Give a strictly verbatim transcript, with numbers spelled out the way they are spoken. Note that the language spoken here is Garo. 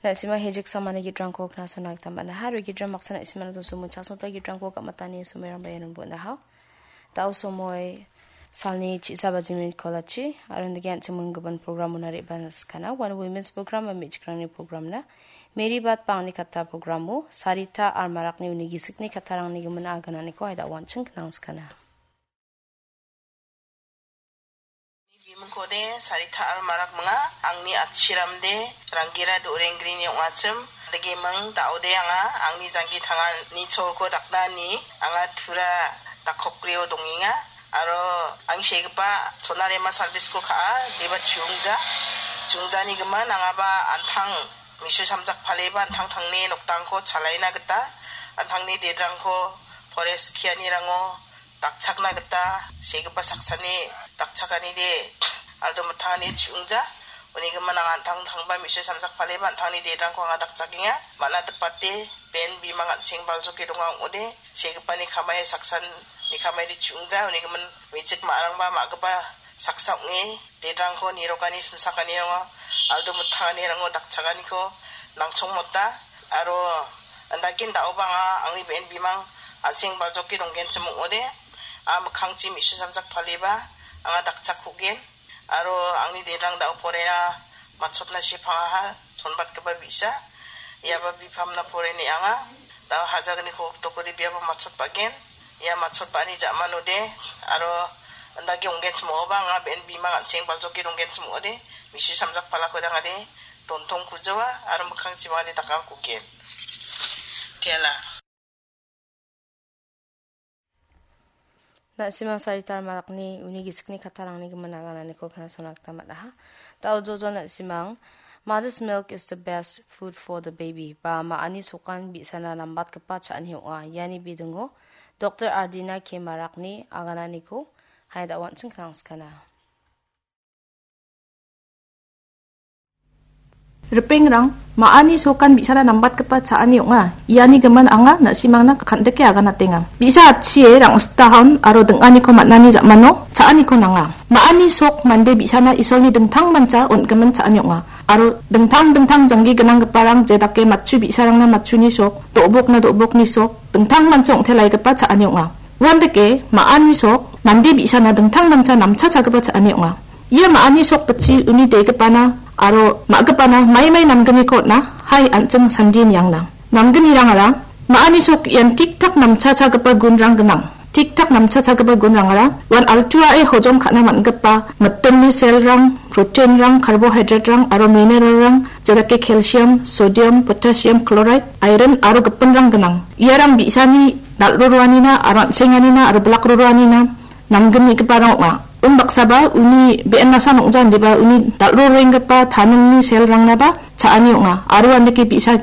Na·sima hejik samani gitrangko knasona gita man·aha. Aro gitram baksa na·simana dosomo chasota gitrangko gamatani somoirangba iano bon·aha. Dao somoi salni chi·sa bajimin kolachi, aro nike an·ching minggipan programona re·bana skana. One Women's Program ba me·chikrangni programna. Mary Bat bangni katta programo, Sarita Almarakni uni gisikni kattarangni gimin agananiko aida wanching knang skana. Bimingkode Sarita Almarak minga, angni atchiramde Rangira Dorengrini ong·achim, degiming daode anga, angni janggi tangani cholko daknani anga tura dakokgrio dongenga, aro ang segipa Sonarema service-ko ka·a, deba chiungja, chiungjani gimin angaba antang misu samjak paleba antang tangni noktangko chalaina gita, antangni dedrangko forest kianirango dakchakna gita segipa saksani dakchakanide aldo mittangani chiungja. Uni gimin anga antang tangba misu samjak paleba antangni dedrangko anga dakchakenga. Mana dipate ben bimang an·seng baljoke donga ong·ode, segipani kamai saksan ni kamaide chiungja. Uni gimin mechik ma·arangba ma·gipa saksa ong·e, dedrangko nirokani simsakanirango aldo mittanganirango dakchakaniko nangchongmota. Aro andakin da·oba anga angni be·en bimang an·seng baljoke donggenchim ong·ode, a mikkangchi misu samjak paleba anga dakchakkugen. Aro angni dedrang da·o porena matchotna sepangaha, chonbatgipa bi·sa. Iaba bipamna poreni anga. Da·o hajagniko oktokode biaba matchotbagen. Ia matchotba·ani ja·manode, aro indake onggenchim ong·oba anga be·en bimang an·seng baljoke donggenchim ong·ode, misu samjak palako dangade, dontong kujoa, aro mikkangchim ong·ade dakangkugen. Tela. Na·simang Sarita Almarakni uni gisikni kattarangni gimin agananiko knasona gita man·aha. Da·o jojo na·simang, "Mother's milk is the best food for the baby," ba ma·ani sokan bi·sana nambatgipa cha·ani ong·a. Iani bidingo Doktor Ardina K Marakni agananiko haida wanching knangskana. Ripengrang, ma·ani sokan bi·sana nambatgipa cha·ani ong·a. Iani gimin anga na·simangna kan·dike aganatenga. Bi·sa atchie rang·sitahon aro ding·aniko man·ani ja·mano cha·aniko nanga. Ma·ani sok mande bi·sana Isolni dingtangmancha on·gimin cha·ani ong·a. Aro dingtang dingtang janggi gnanggiparang jedake matchu bi·sarangna matchuni sok, do·bokna do·bokni sok, dingtangmancha ong·telaigipa cha·ani ong·a. Uandake ma·ani sok mande bi·sana dingtangmancha namchachagipa cha·ani ong·a. Ia ma·ani sok bitchi uni degipana aro ma·gipana maimai namgniko on·a, hai an·ching sandie niangna. Namgnirangara ma·ani sok ian tik-tak namchachagipa gunrang gnang. Tik-tak namchachagipa gunrangara uan altuae hojom ka·na man·gipa mitingni selrang, proteinrang, carbohydraterang aro mineralrang, jedake calcium, sodium, potassium chloride, iron aro gipinrang gnang. Iarang bi·sani dal·roroanina aro an·senganina aro bilak roroanina namgnigiparang ong·a. Unbaksaba uni be·en nasan ong·ja indiba uni dal·rorenggipa taningni selrangnaba cha·ani ong·a. Aro andake bi·sa